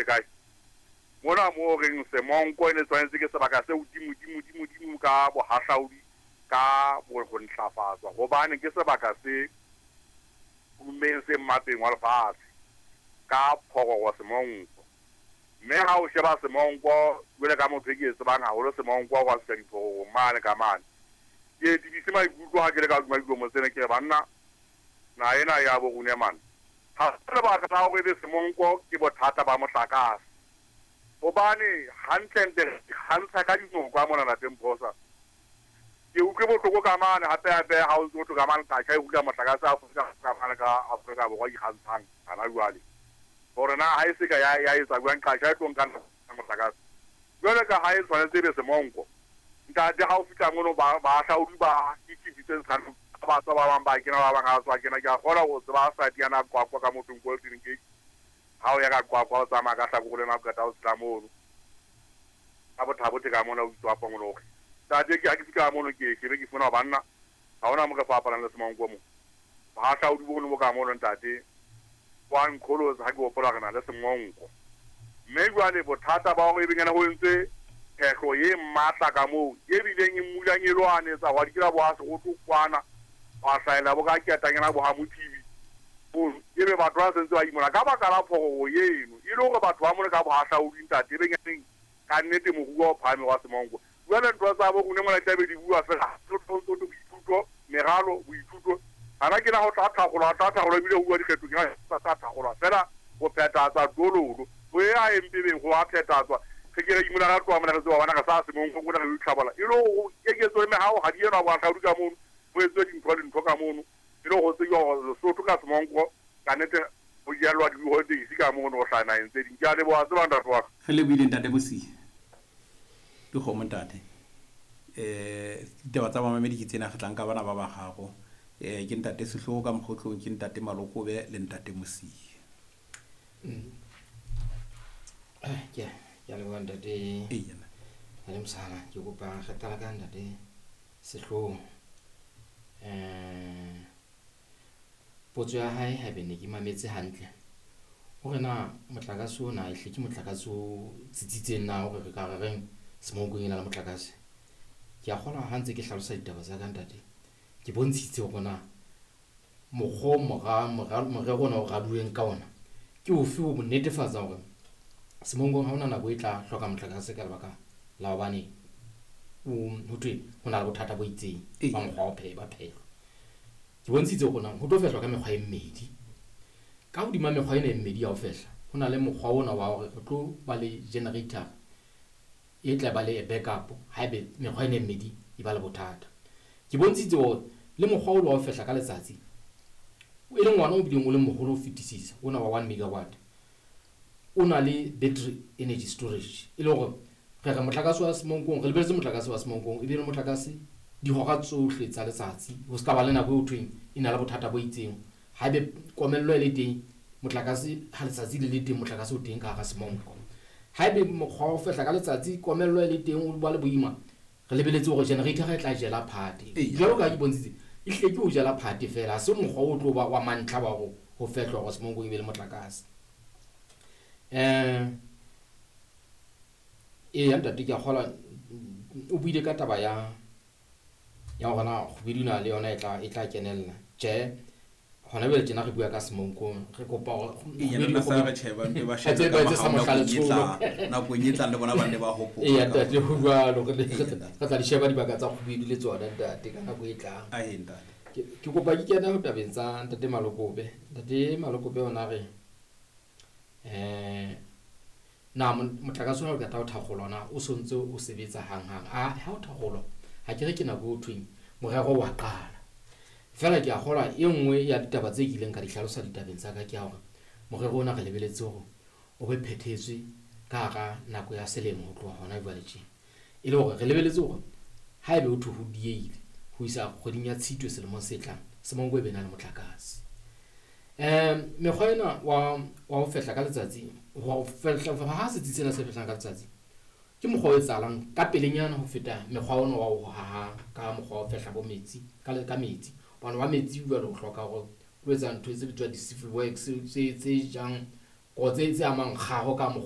kae? Mona moo reng Semonko e ne tshwanetse ke sebaka se hodimo dimo dimo dimo ka bohahlaudi ka ho ntlafatswa hobane ke sebaka se tummeng se mmapeng wa lefatshe ka phororo Semonko. Mme ha o sheba Semonko jwale ka motho e ke e tsebang haholo Semonko wa fihla diphororong mane ka mane. Ke tebise maikutlo ha ke le ka hodima dikomo tsena ke re banna naha ena ya bo rona mane. Ha se lebaka la hore ebe Semonko ke bothata ba motlakase. Hobane hantlentle re ikgantsha ka dinoka mona lapeng Phosa. Ke utlwe bohloko ka mane hape hape ha o ntso thwe ka mane Qacha e hula motlakase Afrika ka mane ka Afrika Borwa ikgantshang hana jwale. Hore na ha e se ka ya ya etsa jwang Qacha e tlo nka motlakase. Jwale ka ha e tshwanetse ebe Semonko. Ntate ha o fihla mono ba bahahlaudi ba dichifi tse ntshang ba tswa ba bang ba kena ba bang ha tswa kena ke a kgona ho tseba site yana Qwaqwa ka mothong Golden Gate. Ha o ya ka Qwaqwa o tsamaya ka hlakore lena o qeta o tshela mono. Ka Botha-Bothe ka mona o bitswa Pongologe. Ntate ke ha ke fihla mono ke shebe ke fumana banna ha hona mo re fapanang le Semonko mo. Bohahlaudi bono bo ka mono ntate wa nqholotsa ha ke hopola re na le Semonko. Mme jwale bothata ba hore ebe nyana ho entswe phehlo e matla ka moo e bileng e mmulang e lwanetsa hwa dikela bo ha Seroto kwana hwa hlahella bo ka ketanyana bo ha Mothibi. Ebe batho ba sentse ba imola ka baka la phororo eno e le hore batho ba mona ka bohahlaudi ntate ebe nyaneng ka nnete moruo o phahame wa Semonko. Jwale ntho tsa bo rona mona tlabe di bua fela boithuto meralo boithuto hana ke na ho tla thakgolwa tla thakgolwa ebile ho bua dikgetho ke tla thakgolwa fela ho phethatswa dololo ho ya mpebeng ho a phethatswa re ke re imola ra tloha mona re tseba bana re sa Semonko rona re itlhabola e le hore keketso le mehao ha di enwa bohahlaudi ka mono ho etswe dintho le ntho ka mono e le ho tsejwa hore Lesotho ka Semonko ka nnete ho jalwa di-holidays ka mono ho hlaha naheng tse ding. Ke a leboha tseba ntate wa ka. Re lebohile ntate Mosia. Dikgomo ntate. Ditaba tsa bamamedi ke tsena re tla nka bana ba bararo. Ke ntate Sehloho ka Mokgotlong, ke ntate Malokobe le ntate Mosia. Ke a leboha ntate. Eya. Ntate Mosala, ke kopa re qala ka ntate Sehloho. Potso ya hae haebe ne ke mametse hantle hore na motlakase ona ehle ke motlakase o tsitsitseng na hore re ka re reng Semonkong e na le motlakase. Ke a kgolwa ha ntse ke hlalosa ditaba tsa ka ntate, ke bontshitse hore na mokgwa morero ona o raduweng ka ona ke ofe ho netefatsa hore Semonkong ha hona nako e tla hloka motlakase ka lebaka la hobane ho thwe ho na le bothata bo itseng ba mokgwa wa phehlo. Ke bontshitse hore na ho tlo fehlwa ka mekgwa e mmedi. Ka hodima mekgwa ena e mmedi ya ho fehla, ho na le mokgwa ona wa hore re tlo ba le generator e tla ba le backup haebe mekgwa ena e mmedi e ba le bothata. Ke bontshitse hore le mokgwa o wa ho fehla ka letsatsi e leng ona o bileng o le moholo ho fetisisa, ona wa 1 megawatt, o na le battery energy storage e le hore re re motlakase wa Semonkong, re lebeletse motlakase wa Semonkong e be le motlakase dihora tsohle tsa letsatsi, ho ska ba le nako eo thweng e na le bothata bo itseng. Haebe komello e le teng, motlakase ha letsatsi le le teng, motlakase o teng ka hara Semonko. Haebe mokgwa wa ho fehla ka letsatsi komello e le teng o ba le boima, re lebeletse hore generator e tla jela phate. Jwalo ka ha ke bontshitse, e hlile ke ho jela phate fela, ha se mokgwa o tlo ba wa mantlha wa ho fehlwa hore Semonkong e be le motlakase. Eya ntate ke a kgolwa o buile ka taba ya hore na kgwedi ena le yona e tla kenella. Tjhe, hona jwale tjena re bua ka Semonkong, re kopa hore nakong e tlang le bona ba nne ba hopola. Eya ntate, ho jwalo, re tla di sheba dibaka tsa kgwedi le tsona ntate ka nako e tlang. Ke kopa ke kene ho tabeng tsa ntate Malokobe. Ntate Malokobe ona re na motlakase ona o qeta ho thakgolwa na o sontse o sebetsa hanghang? A ha o thakgolwa ha ke re ke nako eo thweng morero wa qala. Feela ke a kgolwa e nngwe ya ditaba tse kileng ka di hlalosa ditabeng tsa ka ke ya hore morero ona re lebeletse hore o be phethetswe ka hara nako ya selemo ho tloha hona jwale tje. E le hore re lebeletse hore haebe ho thwe ho diehile ho isa kgweding ya Tshitwe selemong se tlang, Semonko e be na le motlakase. Mekgwa ena wa ho fehla ka letsatsi, ho fehla ha setsi sena se fehlang ka letsatsi ke mokgwa o etsahalang ka pelenyana ho feta mekgwa ona wa ho haha ka mokgwa wa ho fehla bo metsi ka metsi. Hobane wa metsi jwale o hloka hore o etsa ntho tse bitswang di-civil works tse jang tse amang kgaho ka mokgwa